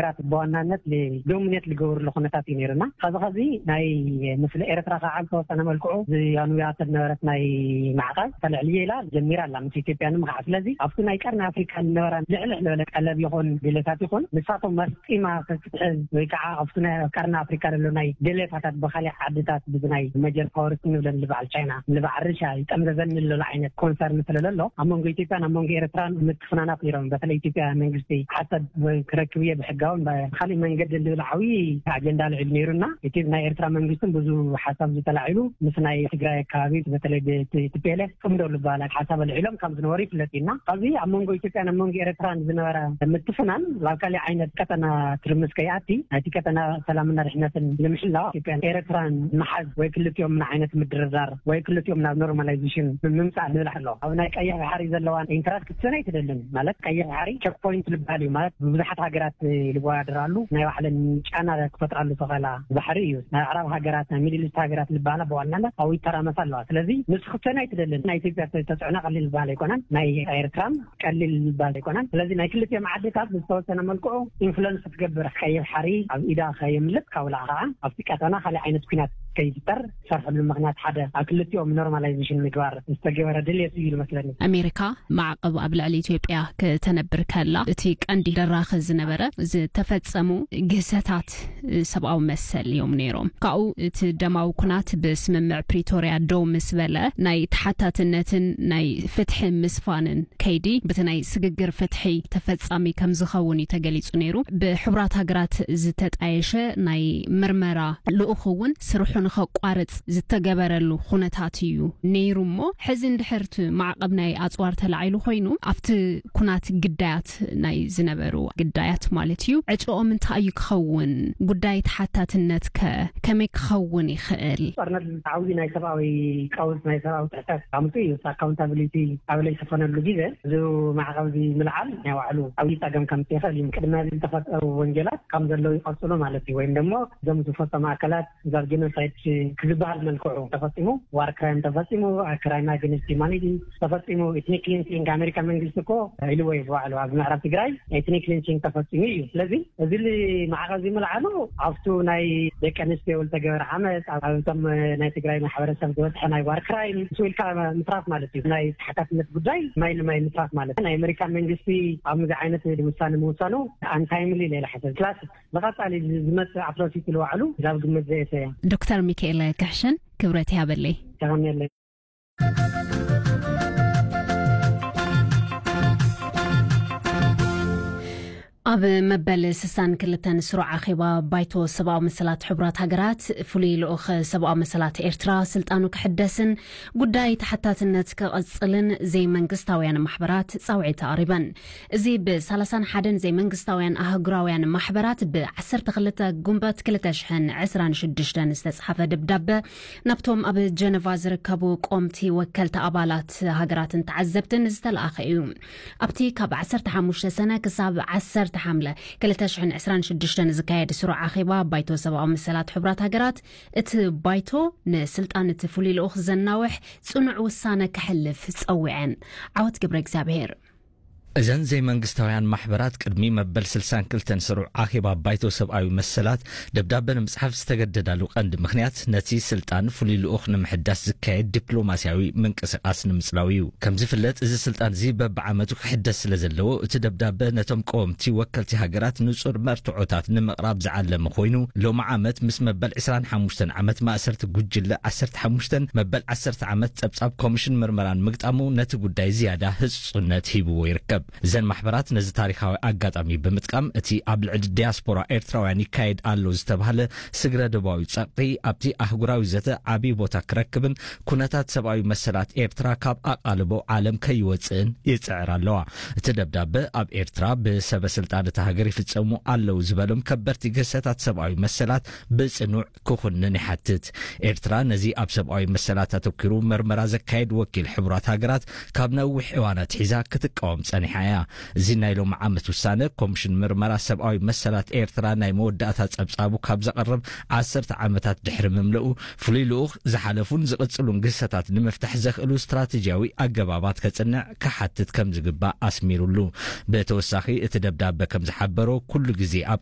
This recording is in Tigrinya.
ራት ብዋናነት ዶሚኔት ዝገብርሉ ኩነታት እዩ ነይሩና። ከዚ ከዚ ናይ ምስለ ኤርትራ ከዓ ዝተወሰነ መልክዑ ዝያኑያ ተነበረት ናይ ማዕቐብ ተልዕልየ ኢላ ጀሚራ ኣላ ምስ ኢትዮጵያ ንምኽዓ። ስለዚ ኣብቲ ናይ ቀርኒ ኣፍሪካ ዝነበራ ልዕልዕ ዝበለ ቀለብ ይኹን ድሌታት ይኹን ንሳቶም መስጢማ ክትሕዝ ወይ ከዓ ኣብቲ ናይ ቀርኒ ኣፍሪካ ዘሎ ናይ ድሌታታት ብካሊእ ዓድታት ብናይ መጀር ፓወርስ ንብለን ልበዓል ቻይና ልበዓል ርሻ ይጠምዘዘኒ ዘሎ ዓይነት ኮንሰርን ስለለሎ ኣብ መንጎ ኢትዮጵያን ኣብ መንጎ ኤርትራን ምትፍናናት ነይሮም። በተለይ ኢትዮጵያ መንግስቲ ሓሰብ ክረክብ እየ ብሕጋውን ብካሊእ መንገዲ ልብል ዓብዪ ኣጀንዳ ልዕሉ ነይሩና። እቲ ናይ ኤርትራ መንግስትን ብዙ ሓሳብ ዝተላዒሉ ምስ ናይ ትግራይ ኣካባቢ በተለይ ቲፒኤልኤፍ ጽምዶ ልበሃል ሓሳብ ኣልዒሎም ከም ዝነበሩ ይፍለጥ ኢና። ካብዚ ኣብ መንጎ ኢትዮጵያን ኣብ መንጎ ኤርትራን ዝነበረ ምትፍናን ናብ ካሊእ ዓይነት ቀጠና ትርምስ ከይኣቲ ናይቲ ቀጠና ሰላምና ድሕነትን ንምሕላው ኢትዮጵያን ኤርትራን ምሓዝ ወይ ክልቲኦም ምን ዓይነት ምድርዳር ወይ ክልቲኦም ናብ ኖርማላይዜሽን ምምፃእ ልብል ኣሎ። ኣብ ናይ ቀይሕ ባሕሪ ዘለዋን ኢንትረስት ክትሰን ኣይትደልን። ማለት ቀይሕ ባሕሪ ቸክ ፖይንት ልበሃል እዩ። ማለት ብብዙሓት ሃገራት ልወዳደራሉ ናይ ባዕለን ጫና ክፈጥራሉ ዝኽእላ ባሕሪ እዩ። ናይ ኣዕራብ ሃገራት ናይ ሚድል ኢስት ሃገራት ልበሃላ ብዋናነት ኣብኡ ይተራመሳ ኣለዋ። ስለዚ ንሱ ክትሰን ኣይትደልን። ናይ ኢትዮጵያ ተፅዕኖ ቀሊል ዝበሃል ኣይኮነን። ናይ ኤርትራን ቀሊል ዝበሃል ኣይኮነን። ስለዚ ናይ ክልቲኦም ዓድታት ብዝተወሰነ መልክዑ ኢንፍሉንስ ክትገብር ቀይሕ ባሕሪ ኣብ ኢዳ ከየምልጥ ካብላ ከዓ ኣብቲ ቀጠና ካልእ ዓይነት ኩናት ከይፍጠር ዝሰርሐሉ ምኽንያት ሓደ ኣብ ክልቲኦም ኖርማላይዜሽን ምግባር ዝተገበረ ድልየት እዩ ዝመስለኒ። ኣሜሪካ ማዕቐብ ኣብ ልዕሊ ኢትዮጵያ ከተነብር ከላ እቲ ቀንዲ ደራኺ ዝነበረ ዝተፈጸሙ ግህሰታት ሰብኣዊ መሰል እዮም ነይሮም። ካብኡ እቲ ደማዊ ኩናት ብስምምዕ ፕሪቶርያ ደው ምስ በለ ናይ ተሓታትነትን ናይ ፍትሒ ምስፋንን ከይዲ በቲ ናይ ስግግር ፍትሒ ተፈጻሚ ከም ዝኸውን እዩ ተገሊጹ ነይሩ። ብሕቡራት ሃገራት ዝተጣየሸ ናይ ምርመራ ልኡኽ እውን ስርሑ ንኸቋርጽ ዝተገበረሉ ኩነታት እዩ ነይሩ። እሞ ሕዚ እንድሕር እቲ ማዕቐብ ናይ ኣጽዋር ተላዒሉ ኮይኑ ኣብቲ ኩናት ግዳያት ናይ ዝነበሩ ግዳያት ማለት እዩ ዕጭኦም እንታይ እዩ ክኸውን? ጉዳይ ተሓታትነት ከ ከመይ ክኸውን ይኽእል? ጦርነት ዓብዪ ናይ ሰብኣዊ ቀውስ ናይ ሰብኣዊ ጥሕሰት ኣምፅኡ እዩ። ኣካውንታብሊቲ ኣበለ ዝኾነሉ ግዜ እዚ ማዕቐብ እዚ ምልዓል ናይ ባዕሉ ዓብዪ ፀገም ከምፅእ ይኽእል እዩ። ቅድሚ እዚ ዝተፈጠሩ ወንጀላት ከም ዘለዉ ይቐፅሉ ማለት እዩ። ወይም ደግሞ እዞም ዝፈፀሙ ኣካላት እዛ ጀኖሳይድ ክዝበሃል መልክዑ ተፈፂሙ፣ ዋር ክራይም ተፈፂሙ፣ ክራይም ኣገንስት ሂማኒቲ ተፈፂሙ፣ ኤትኒክ ክሊንሲንግ ኣሜሪካ መንግስቲ እኮ ኢልዎ እዩ ባዕሉ ኣብ ምዕራብ ትግራይ ኤትኒክ ክሊንሲንግ ተፈፂሙ እዩ። ስለዚ እዚ ማዕቐብ እዚ ምልዓሉ ኣብቱ ናይ ደቂ ኣንስትዮ ዝተገበረ ዓመፅ፣ ኣብቶም ናይ ትግራይ ማሕበረሰብ ዝበፅሐ ናይ ዋር ክራይም እሱ ኢልካ ምትራፍ ማለት እዩ። ናይ ተሓታትነት ጉዳይ ማይ ንማይ ምትራፍ ማለት እዩ። ናይ ኣሜሪካ መንግስቲ ኣብ ምዚ ዓይነት ውሳነ ምውሳኑ ኣንታይምሊ ሌላ ሓሰብ ክላስ ንቐጻሊ ዝመጽእ ኣፍረስ ይትልዋዕሉ ናብ ግምት ዘየሰያ። ዶክተር ሚካኤል ክሕሽን ክብረት ያበለይ። ተቐንየለይ። ኣብ መበል ስሳን ክልተን ስሩዕ ኣኼባ ባይቶ ሰብኣዊ መሰላት ሕቡራት ሃገራት ፍሉይ ልኡኽ ሰብኣዊ መሰላት ኤርትራ ስልጣኑ ክሕደስን ጉዳይ ተሓታትነት ክቕጽልን ዘይመንግስታውያን ማሕበራት ጻውዒት ኣቕሪበን። እዚ ብ ሰላሳን ሓደን ዘይመንግስታውያን ኣህጉራውያን ማሕበራት ብ ዓሰርተ ክልተ ጉንበት ክልተ ሽሕን ዕስራን ሽዱሽተን ዝተጻሓፈ ደብዳበ ናብቶም ኣብ ጀነቫ ዝርከቡ ቆምቲ ወከልቲ ኣባላት ሃገራትን ተዓዘብትን ዝተለኣኸ እዩ። ኣብቲ ካብ ዓሰርተ ሓሙሽተ ሰነ ክሳብ ዓሰርተ ሓምለ ክልተ ሽሕን ዕስራን ሽዱሽተን ዝካየድ ስሩዕ ኣኼባ ባይቶ ሰብኣዊ መሰላት ሕቡራት ሃገራት እቲ ባይቶ ንስልጣን እቲ ፍሉይ ልኡኽ ዘናውሕ ጽኑዕ ውሳነ ከሕልፍ ጸዊዐን። ዓወት ገብረ እግዚኣብሔር። እዘን ዘይመንግስታውያን ማሕበራት ቅድሚ መበል ስልሳን ክልተን ስሩዕ ኣኼባ ባይቶ ሰብኣዊ መሰላት ደብዳበ ንምጽሓፍ ዝተገደዳሉ ቀንዲ ምኽንያት ነቲ ስልጣን ፍሉይ ልኡኽ ንምሕዳስ ዝካየድ ዲፕሎማስያዊ ምንቅስቓስ ንምጽላው እዩ። ከም ዝፍለጥ እዚ ስልጣን እዚ በብዓመቱ ክሕደስ ስለ ዘለዎ እቲ ደብዳበ ነቶም ቀወምቲ ወከልቲ ሃገራት ንጹር መርትዖታት ንምቕራብ ዝዓለመ ኮይኑ ሎሚ ዓመት ምስ መበል ዕስራን ሓሙሽተን ዓመት ማእሰርቲ ጉጅለ ዓሰርተ ሓሙሽተን መበል ዓሰርተ ዓመት ጸብጻብ ኮሚሽን ምርመራን ምግጣሙ ነቲ ጉዳይ ዝያዳ ህጹጽነት ሂብዎ ይርከብ። እዘን ማሕበራት ነዚ ታሪኻዊ ኣጋጣሚ ብምጥቃም እቲ ኣብ ልዕሊ ዲያስፖራ ኤርትራውያን ይካየድ ኣሎ ዝተባህለ ስግረ ዶባዊ ጸቕጢ ኣብቲ ኣህጉራዊ ዘተ ዓቢ ቦታ ክረክብን ኩነታት ሰብኣዊ መሰላት ኤርትራ ካብ ኣቓልቦ ዓለም ከይወጽእን ይጽዕር ኣለዋ። እቲ ደብዳበ ኣብ ኤርትራ ብሰበ ስልጣን እታ ሃገር ይፍጸሙ ኣለዉ ዝበሎም ከበድቲ ግህሰታት ሰብኣዊ መሰላት ብጽኑዕ ክኹንን ይሓትት። ኤርትራ ነዚ ኣብ ሰብኣዊ መሰላት ኣተኲሩ መርመራ ዘካየድ ወኪል ሕቡራት ሃገራት ካብ ነዊሕ እዋን ኣትሒዛ ክትቃወም ጸኒሓ። ምርኣያ። እዚ ናይ ሎም ዓመት ውሳነ ኮምሽን ምርመራ ሰብኣዊ መሰላት ኤርትራ ናይ መወዳእታ ጸብጻቡ ካብ ዘቕርብ ዓሰርተ ዓመታት ድሕሪ ምምልኡ፣ ፍሉይ ልኡኽ ዝሓለፉን ዝቕጽሉን ግህሰታት ንምፍታሕ ዘኽእሉ ስትራቴጂያዊ ኣገባባት ከጽንዕ ክሓትት ከም ዝግባእ ኣስሚሩሉ። ብተወሳኺ እቲ ደብዳበ ከም ዝሓበሮ፣ ኩሉ ግዜ ኣብ